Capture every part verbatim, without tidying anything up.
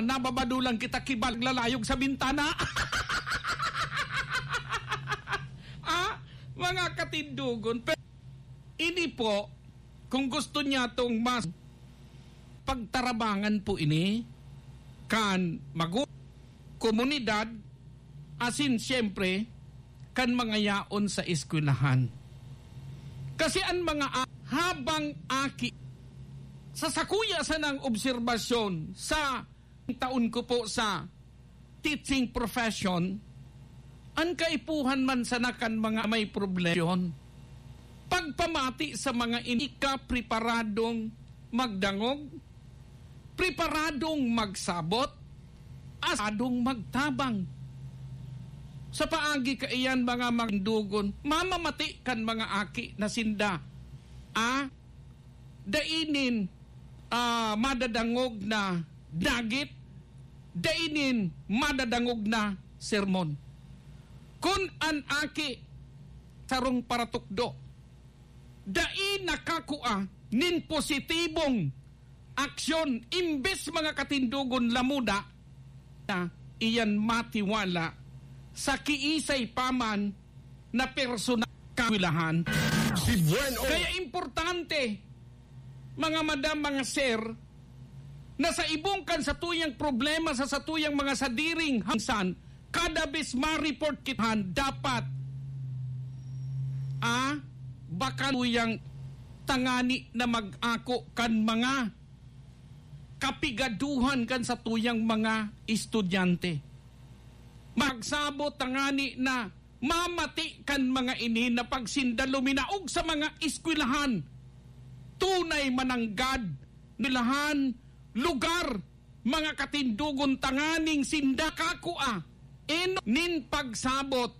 Nababado lang kita kibal lalayog sa bintana. Ah, mga katindogon. Pe-, ini po, kung gusto niya tong mas pagtarabangan po ini, kan magu-, komunidad, asin siyempre, kan mga yaon sa eskwelahan. Kasi an mga a-, habang aki, sa sakuya sanang obserbasyon, sa taon ko po sa teaching profession, an kaipuhan man sana kan mga may problema, pagpamati sa mga ini ka preparadong magdangog, preparadong magsabot, asadong magtabang. Sa paagi kaiyan, mga matindogon, mamamati kan mga aki na sinda, ah, dai nin, ah, madadangog na dagit, dai nin madadangog na sermon. Kun an aki sarong paratukdo, dai nakakua nin positibong aksyon, imbes mga katindogon lamuda na iyan matiwala sa kiisay pa man na personal kawilahan. Si Buen O. Kaya importante, mga madam, mga sir, na sa ibong kan satuyang problema, sa satuyang mga sadiring hangsan, kada bes ma-report kitahan, dapat, ah, baka tuyang tangani na mag-ako kan mga kapigaduhan kan satuyang mga estudyante. Magsabot tangani na mamati kan mga ini na pag sinda luminaog sa mga eskwelahan, tunay mananggad nilahan lugar, mga katindogon, tanganing sinda kakua, eno nin pagsabot,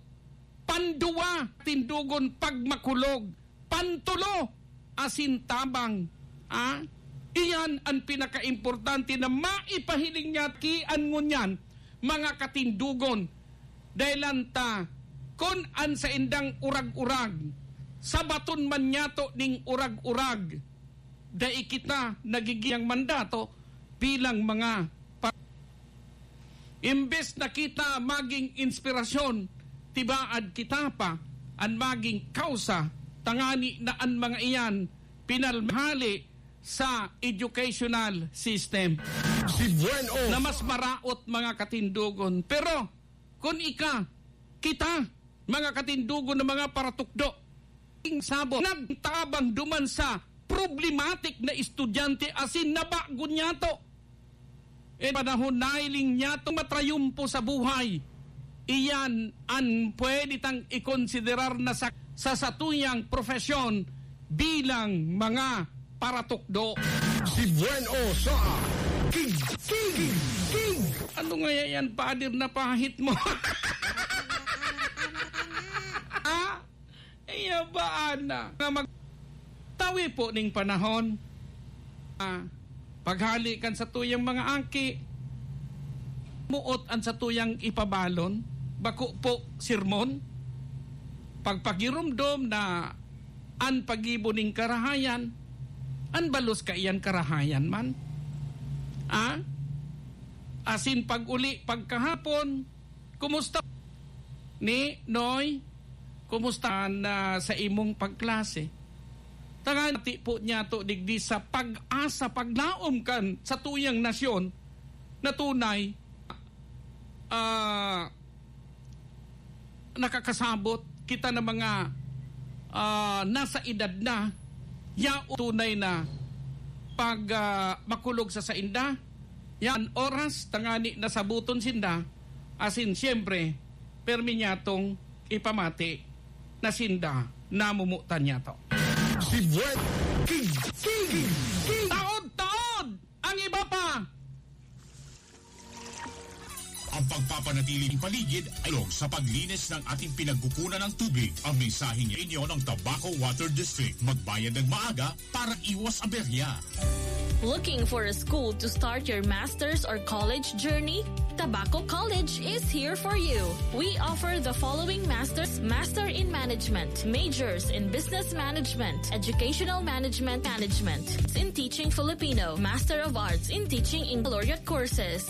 panduwa, tindogon, pagmakulog, pantulo, asin tabang. Ah? Iyan an pinakaimportante na maipahiling niya kian ngunyan, mga katindogon. Dahil ta, kun an saindang urag-urag, sabaton man niyato ning urag-urag, dai kita nagigiyang mandato bilang mga pa-, imbes na kita maging inspirasyon, tibaad kita pa an maging kausa, tangani na an mga iyan pinalmahali sa educational system. Si Buen O. Na mas maraot, mga katindogon. Pero, kun ika, kita, mga katindogon na mga paratukdo, ing sabo, nagtabang duman sa problematic na estudyante asin nabago niyato. E panahon nailing niyato matrayumpo sa buhay. Iyan an pwede tang ikonsiderar na sa, sa satuyang profesyon bilang mga paratukdo. Si Buen O sa King, King, King. Ano nga yan, pader na pahit mo? Ah? Iya ba, ana? Nga mag-, tawi po ning panahon. Ah, paghali kan satuyang mga aki, muot an satuyang ipabalon, bako po sermon, pagpagiromdom na an paggibo ning karahayan, an balos kaiyan karahayan man. Ah? Asin pag-uli, pagkahapon, kumusta? Ni Noy, kumusta na sa imong pagklase? Tangani po niyato digdi sa pag-asa, paglaom kan satuyang nasyon na tunay, ah, nakakasabot kita na mga, ah, nasa edad na, ya tunay na pag, ah, makulog sa sainda, yan oras, tangani nasabuton sinda, asin siyempre, permi niyatong ipamati na sinda namumutan niyato. Si Buen King, King, King. Taod-taod ang iba pa. Ang pagpapanatiling paligid ay tulong sa paglinis ng ating pinagkukunan ng tubig. Ang mensaheng inyo ng Tabaco Water District. Magbayad ng maaga para iwas aberya. Looking for a school to start your master's or college journey? Tabaco College is here for you. We offer the following master's: Master in Management, majors in Business Management, Educational Management, Management in Teaching Filipino, Master of Arts in Teaching in Baccalaureate courses,